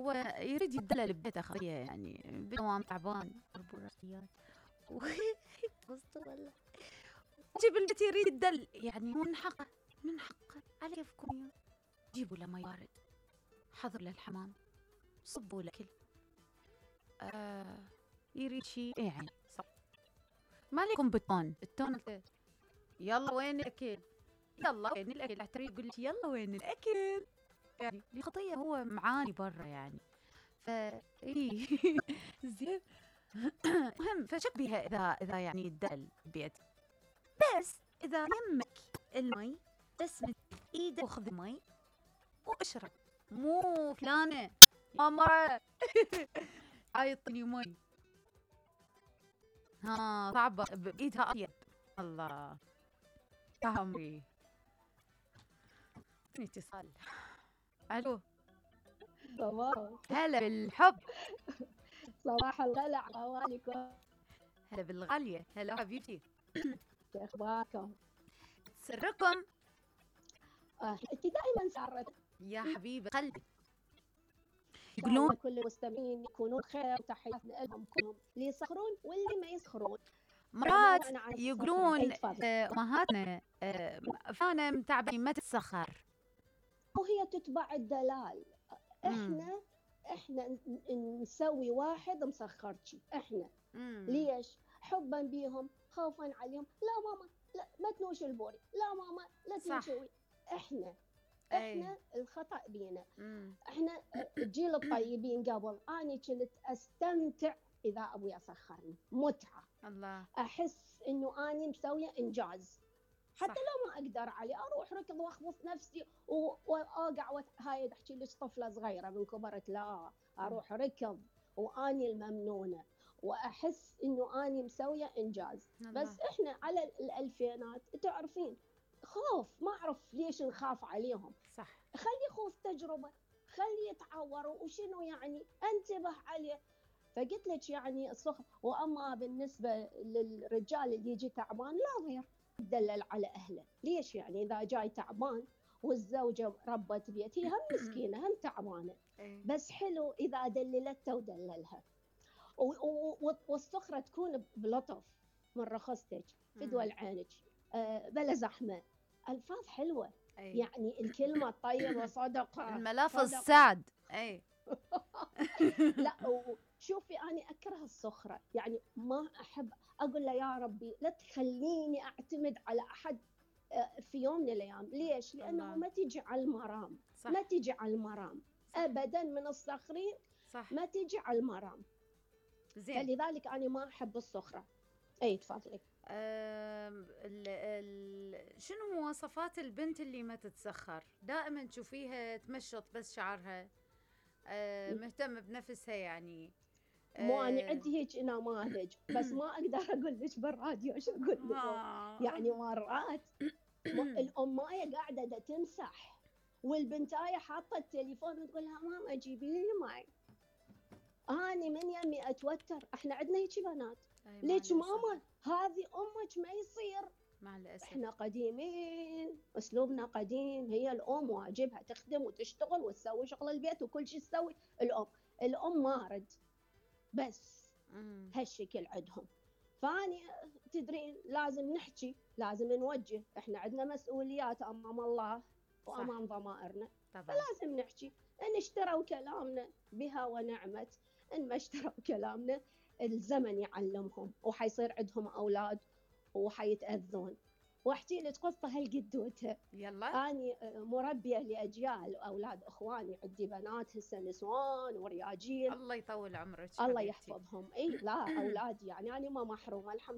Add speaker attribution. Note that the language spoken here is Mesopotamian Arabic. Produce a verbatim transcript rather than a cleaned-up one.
Speaker 1: هو يريد يدلل ببيته خطيه يعني بدوام تعبان ضربوا راسيات وسطه والله جيب البيت يريد يدل يعني من حقه من حقه على كيفكم يا جيبوا له مي بارد حضر للحمام صبوا له كل آه يريد شيء يعني صح ما لكم بالتون التون يلا وين الاكل يلا وين الاكل احتري يقول لك يلا وين الاكل يعني الخطيه هو معاني برا يعني ف اي زين مهم فشك بيها اذا اذا يعني يدل بيت بس اذا يمك المي بس من ايدك وخذ المي واشرب مو فلانه يا مرة هاي الطني مي ها صعبة بإيدها أطيب الله فهمي اتصال ألو
Speaker 2: صباح
Speaker 1: هلا بالحب
Speaker 2: صباح الغلا عواليكم
Speaker 1: هلا بالغالية هلا حبيبتي
Speaker 2: شو اخباركم؟
Speaker 1: سركم
Speaker 2: آه، انت دائما سارت
Speaker 1: يا حبيبة قلبي
Speaker 2: يقولون كل المستمعين يكونون خير وتحياتنا لهم كلهم اللي يسخرون واللي ما يسخرون
Speaker 1: مرات يقولون امهاتنا فانا متعبه ما تتسخر
Speaker 2: وهي تتبع الدلال. احنا مم. احنا نسوي واحد مسخرتي احنا مم. ليش؟ حبا بيهم خوفا عليهم. لا ماما لا ما تنوش البوري لا ماما لا تنشوي. احنا احنا أي. الخطأ بينا. مم. احنا الجيل الطيبين قبل اني كنت استمتع اذا ابوي اسخرني متعه
Speaker 1: الله
Speaker 2: احس انه اني مسويه انجاز حتى صح. لو ما اقدر عليه اروح ركض واخبص نفسي واوقع وت... هاي احكي لك طفله صغيره من كبرت لا اروح ركض واني الممنونه واحس انه اني مسويه انجاز الله. بس احنا على الالفينات تعرفين خوف ما اعرف ليش نخاف عليهم
Speaker 1: صح
Speaker 2: خلي خوف تجربه خلي يتعوروا وشنو يعني انتبه عليه. فقلت لك يعني الصخر. واما بالنسبه للرجال اللي يجي تعبان لا غير يدلل على اهله. ليش يعني اذا جاي تعبان والزوجه ربت بيت هي هم مسكينه هم تعبانه بس حلو اذا دللته ودللها. والصخره تكون بلطف من رخصتك فدوى عينك أه بلا زحمه الفاظ حلوه أي. يعني الكلمه الطيبه صدقه
Speaker 1: الملافظ سعد اي
Speaker 2: لا شوفي أنا أكره الصخرة يعني ما أحب أقول له يا ربي لا تخليني أعتمد على أحد في يوم من الأيام. ليش؟ لأنه الله. ما تيجي على المرام صح. ما تيجي على المرام صح. أبدا من الصخرين صح. ما تيجي على المرام زين. فلذلك أنا ما أحب الصخرة. أي تفضلي.
Speaker 1: ال ال شنو مواصفات البنت اللي ما تتسخر؟ دائما تشوفيها تمشط بس شعرها أه مهتمة بنفسها يعني
Speaker 2: مو أنا عندي هيك نماذج بس ما أقدر أقول لك بالراديو شو أقول لك يعني مرات الأماية قاعدة دا تمسح والبنتاية حاطة التليفون وتقول لها ماما جيبي لي ماي. أنا من يمي أتوتر. إحنا عندنا هيك بنات ليش ماما هذه أمك ما يصير
Speaker 1: مع الأسف.
Speaker 2: إحنا قديمين أسلوبنا قديم. هي الأم واجبها تخدم وتشتغل وتسوي شغل البيت وكل شيء تسوي الأم. الأم مارد بس مم. هالشكل عندهم. فاني تدرين لازم نحكي لازم نوجه. احنا عندنا مسؤوليات امام الله وامام ضمائرنا فلازم نحكي. ان اشتروا كلامنا بها ونعمت ان ما اشتروا كلامنا الزمن يعلمهم وحيصير عندهم اولاد وحيتاذون. واحكي لك قصه هالقدوتها
Speaker 1: يلا.
Speaker 2: اني مربيه لاجيال اولاد اخواني عندي بنات هسه نسوان ورياجيل
Speaker 1: الله يطول عمرك
Speaker 2: الله يحفظهم. اي لا اولادي يعني انا ما محرومه الحمد